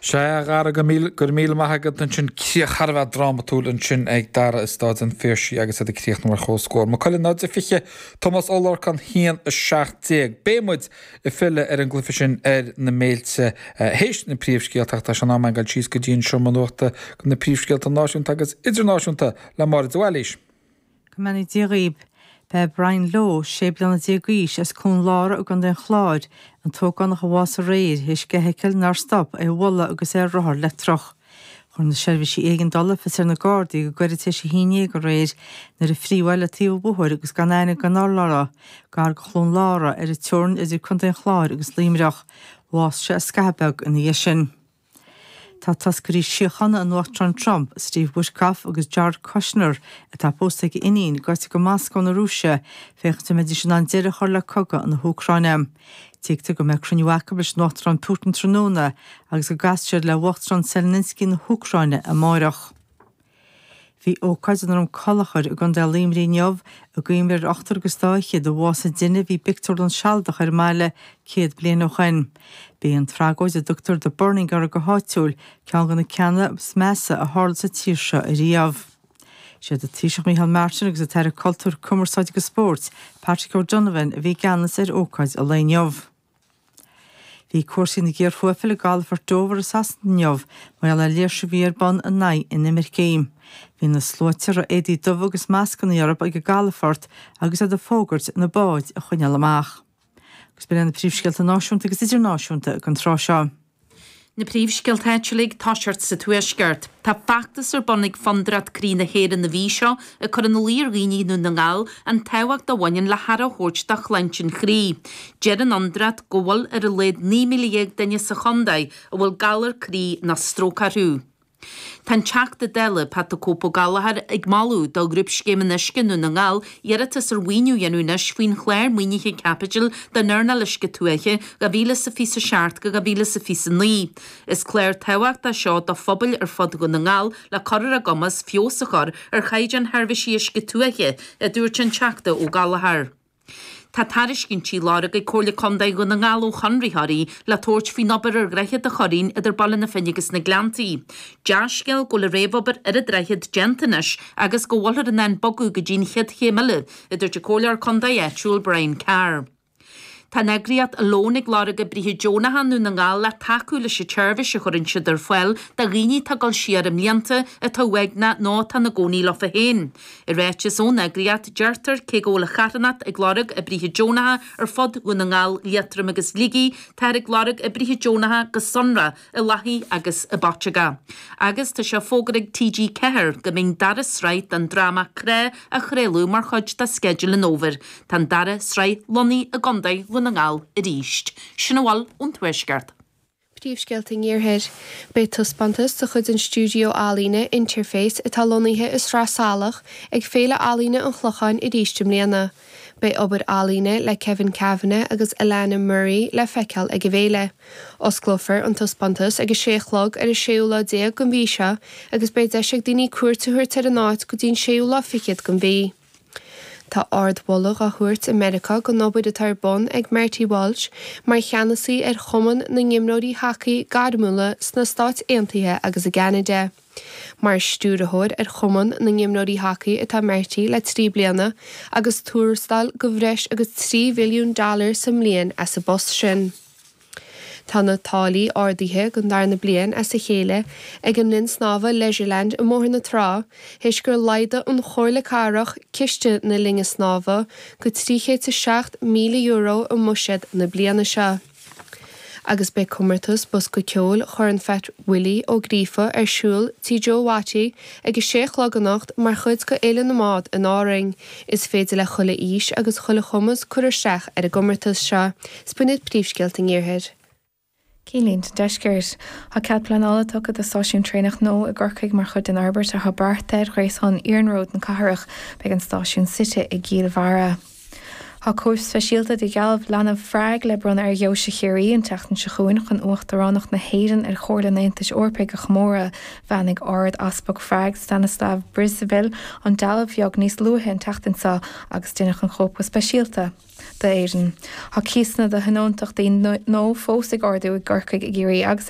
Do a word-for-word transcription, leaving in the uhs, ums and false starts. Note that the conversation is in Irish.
Sea, a Dhara, go raibh míle maith agat ansin críoch thar a bheith drámatúil ansin ag Dara i Staid an Phiarsaigh agus iad ag críochnú ar chomhscór. Maigh Cuilinn náid a fiche, Tomás Ó Lorcáin haon a seacht déag. Beidh muid ag filleadh ar an gcluiche sin ar na béilte théis na príomhscéalta ach tá sé in am againn dul síos go dtí an seomra nuachta go na príomhscéalta náisiúnta agus idirnáisiúnta le Máire de Bhailís. Go mbeannaí Dia dhaoib. B'é Brian Lowe, sé bliana déag d'aois as Cluain Lára i gContae an Chláir, an t-ógánach a bhásaigh aréir théis d'fheithicil nár stop é a bhualadh agus é ar rothar leictreach. Chuir na seirbhísí éigeandála fios ar na Gardaí go gairid tar éis a haon déag aréir nuair a fríodh é le taobh an bhóthair agus gan aithne gan urlár air, gar do Chluain Lára ar an teorainn idir Contae an Chláir agus Luimneach. Bhásaigh sé scaitheamh beag ina dhiaidh sin. Tá toscairí síochána an Uachtaráin Trump, Steve Witkoff agus Jared Kushner, atá pósta ag a iníon, gaibhte go Moscó na Rúise, féachaint an mbeidís in ann deireadh a chur le cogadh na hÚcráine. Tuigtear go mbeidh cruinniú acu leis an Uachtarán Putin tráthnóna agus go gcasfaidh siad le hUachtarán Zelensky na hÚcráine amárach. Bhí ócáid i nDroim Conchúir i gContae Luimnigh inniu i gcuimhne ar ochtar agus dá fhichead a bhásaigh i dtine a bhí i bpictiúrlann sealadach ar an mbaile céad bliain ó shin. B'é an tragóid a dtugtar The Burning uirthi go háitiúil ceann de na ceanna is measa a tharla sa tír seo ariamh. Siad an Taoiseach Micheál Martin agus an tAire Cultúir, Cumarsáide agus Spóirt, Patrick O'Donovan a bhí i gceannas ar ócáid an lae inniu. Bhí cúrsaí ina gcíor thuaifil i gcalafort Dover i Sasana inniu mar gheall ar léirsiú a bhí ar bun in aghaidh inimircigh. Bhí na sluaite a raibh éadaí dubha agus mascanna orthu ag an gcalafort agus iad ag fógairt na báid a choinneáil amach. Agus b'in na príomhscéalta náisiúnta agus idirnáisiúnta don tráth seo. Na príomhscéalta áitiúla ag toiseacht sa Tuaisceart. Tá feachtas ar bun ag Fondúireacht Croí na hÉireann na mhí seo ag cur ina luí ar dhaoine i nDún na nGall an tábhacht a bhaineann le haire a thabhairt do shláinte an chroí. Deir an Fhondúireacht go bhfuil ar a laghad naoi míle dhéag duine sa chontae a bhfuil galar croí nó stróc orthu. Tá an Teachta Dála Pat the Cope Ó Gallchóir ag moladh do Ghrúpscéim an Uisce i nDún na nGall iarratas ar mhaoiniú a dhéanamh anois faoin chlár maoinithe caipitil don earnáil uisce tuaithe dhá mhíle is a fiche a seacht go dhá mhíle is a fiche a naoi. Is clár tábhachtach seo do phobail ar fud Dhún na nGall le cur ar a gcumas feabhas a chur ar chaighdeán sheirbhísí uisce tuaithe, a dúirt an Teachta Ó Gallchóir. Tá tairiscintí á lorg ag Comhairle Contae Dhún na nGall ó chonraitheoirí le tabhairt faoin obair ar Dhroichead an Churraoin idir Baile na Finne agus na Gleanntaí. Dea-scéal go bhfuil an réamhobair ar an droichead déanta anois agus go bhfuiltear in ann bogadh go dtí an chéad chéim eile, a dúirt an Comhairleoir Contae áitiúil Brian Carr. Tá an eagraíocht Alone ag lorg oibrithe deonacha i nDún na nGall le tacú leis an tseirbhís a chuireann siad ar fáil do dhaoine atá ag dul siar i mblianta, atá uaigneach nó atá ina gcónaí leofa féin. I ráiteas ón eagraíocht, deirtear cé go bhfuil an charthanacht ag lorg oibrithe deonacha ar fud Dhún na nGall, Liatroim agus Shligigh, táthar ag lorg oibrithe deonacha go sonrach i Lathaí agus i bPaiteagá. Agus tá sé fógartha ag T G ceathair go mbeidh an dara sraith den dráma Crá á chraoladh mar chuid de sceideal an fhómhair. Tá an dara sraith lonnaithe i gContae Dhún na nGall arís. Sin a bhfuil ón Tuaisceart. Príomhscéalta an Iarthair. Beidh taispeántas de chuid an stiúideo ealaíne Interface atá lonnaithe i Sraith Salach ag Féile Ealaíne an Chlocháin arís i mbliana. Beidh obair ealaíne le Kevin Kavanagh agus Alana Murray le feiceáil ag an bhféile. Osclófar an taispeántas ag a sé a chlog ar an séú lá déag den mhí seo agus beidh deis ag daoine cuairt a thabhairt ar an áit go dtí an séú lá fichead den mhí. Tá ardmholadh á thabhairt i Meiriceá don obair atá ar bun ag Marty Walsh mar cheannasaí ar Chumann na nImreoirí Hacaí Gairmiúla sna Stáit Aontaithe agus i gCeanada. Mar stiúrthóir ar Chumann na nImreoirí Hacaí atá Marty le trí bliana agus tuarastal de bhreis agus trí mhilliún dollar sa mbliain as an bpost sin. Tá na táillí ardaithe don darna bliain as a chéile ag an linn snámha Leisureland i mBóthar na Trá, théis gur laghdaigh an Chomhairle Cathrach ciste na linne snámha go trí chéad is seacht míle euro i mbuiséad na bliana seo. Agus beidh comórtas bosca ceoil Chorn Phat Willie Ó Gríofa ar siúl Tí Joe Watty ag a sé a chlog anocht mar chuid de Fhéile na mBád in Árainn. Is féidir le chuile aois agus chuile chumas cur isteach ar an gcomórtas seo. Is b'in iad príomhscéalta an Iarthair. Cinnlínte an Deiscirt. Tá cead pleanála tugtha do stáisiún traenach nua i gCorcaigh mar chuid den fhorbairt atá beartaithe ar ghréasán iarnróid na cathrach. Beidh an stáisiún suite i gCill Bharra. Tá cóip speisialta de dhealbh leanbh Phrág le bronnadh ar Dheoise Chiarraí an tseachtain seo chugainn chun Uachtaránacht na hÉireann ar Chomhairle an Aontais Eorpaigh a chomóradh. Bheannaigh Ard-Easpag Phrág Stanislav Przybyle an dealbh bheag níos luaithe an tseachtain seo agus deineadh an chóip go speisialta d'Éirinn. Tá cíosanna do thionóntachtaí nua fós ag ardú i gCorcaigh, i gCiarraí agus i